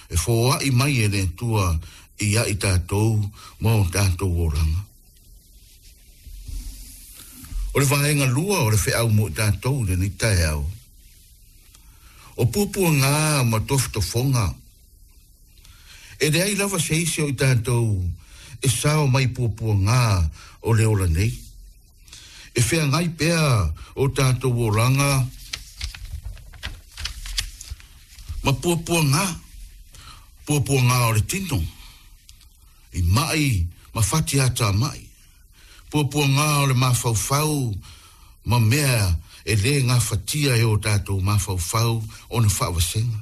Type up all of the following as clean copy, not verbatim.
e foai mai e le Atua ia i tatou ma o tatou olaga. O le vaega lua o le feau mo i tatou i lenei taeao, o puapuaga ma tofotofoga. E leai lava se isi o i tatou e sao mai puapuaga o le ola nei. E feagai pea o tatou olaga ma puapuaga, puapuaga o le tino, i mai ma fati atamai, puapuaga o le mafaufau ma mea e lē gafatia e o tatou mafaufau ona faavasega.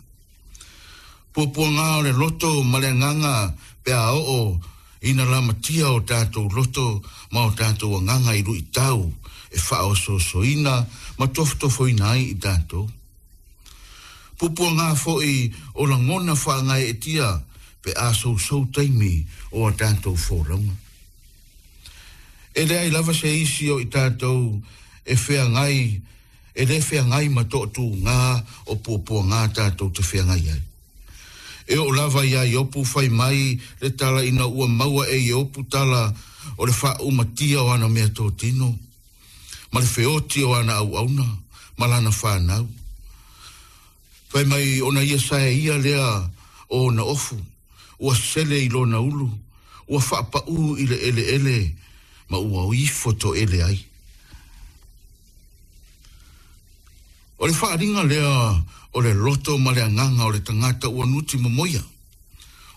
Puapuaga o le loto ma le agaga pe a oo ina lamatia o tatou loto ma o tatou agaga i luitau e faaosoosoina ma tofotofoina ai i tatou. Puapuaga foi o lagona faagaeetia pe a sousou taimi o a tatou folauga. E leai lava se isi o i tatou e feagai e lē feagai ma toʻatūgā o puapuagā tatou te feagai ai. E oo lava iā Iopu fai mai le tala ina ua maua e Iopu tala o le faaumatia o ana meatotino, ma le feoti o ana auauna, ma lana fanau. Fai mai ona ia saeia lea o ona ofu, ua sele i lona ulu, ua faapaū i le eleele ma ua ifo toele ai. O le faaaliga lea o le loto ma le agaga o le tagata ua nuti momoia,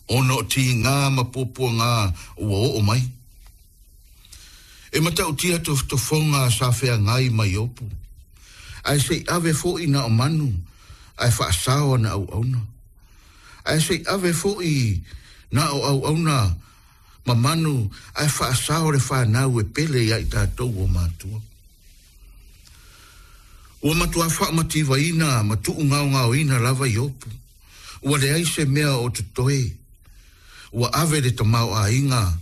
ona o tigā ma puapuagā ua oo mai. E matautia tofotofoga sa feagai ma Iopu, ae se i ave foi na o manu ae faasao ana auauna. Ae se i ave foi na o auauna ma manu ae faasao le fanau e pele ia i tatou o matua. Ua matua faamativaina ma tuugaogaoina lava Iopu. Ua leai se mea o totoe. Ua ave le tamaoaiga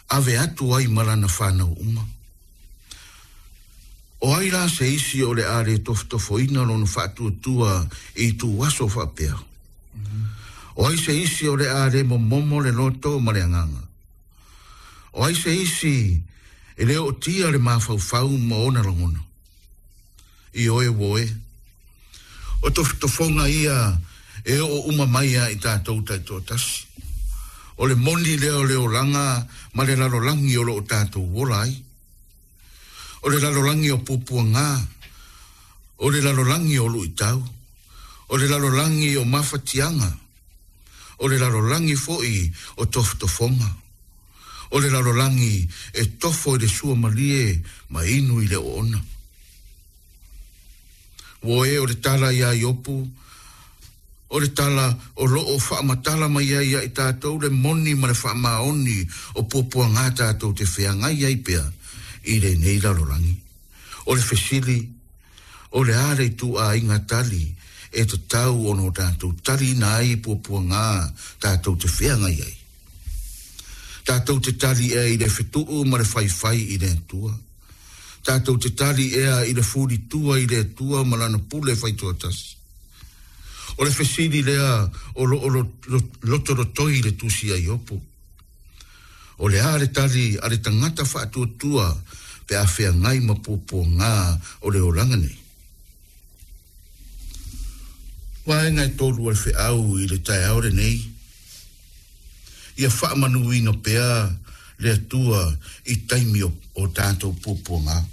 ave atu ai ma lana fanau uma. O ai la se isi o le a lē tofotofoina lona faatuatua i ituaso faapea? O ai se isi o le a lē momomo le loto ma le agaga? O ai se isi e lē ootia le mafaufau ma ona lagona? Ioe ua oe. O tofotofoga ia e oo uma mai ia i tatou taitoatasi. O le moni lea o le olaga ma le lalolagi o lo o tatou ola ai. O le lalolagi o puapuagā, o le lalolagi o luitau, o le lalolagi o mafatiaga, o le lalolagi foi o tofotofoga, o le lalolagi e tofo i le suamalie ma inu i le oona. Ua e o le tala iā Iopu, o le tala o lo o faamatala mai ai ia i tatou le moni ma le faamaoni o puapuagā tatou te feagai ai pea i lenei lalolagi. O le fesili, o le a le ituaiga tali e tatau ona o tatou taliina ai i puapuagā tatou te feagai ai? Tatou te tali ea i le fetuu ma le faifai i le Atua? Tatou te tali ea i le fulitua i le Atua ma Lana pule faitoatasi? O le fesili lea o lo o lotolotoi i le Tusi a Iopu. O le a le tali a le tagata faatuatua pe a feagai ma puapuagā o le olaga nei? Vaega e tolu o le feau i le taeao lenei. Ia faamanuina pea le Atua i taimi o, o tatou puapuagā.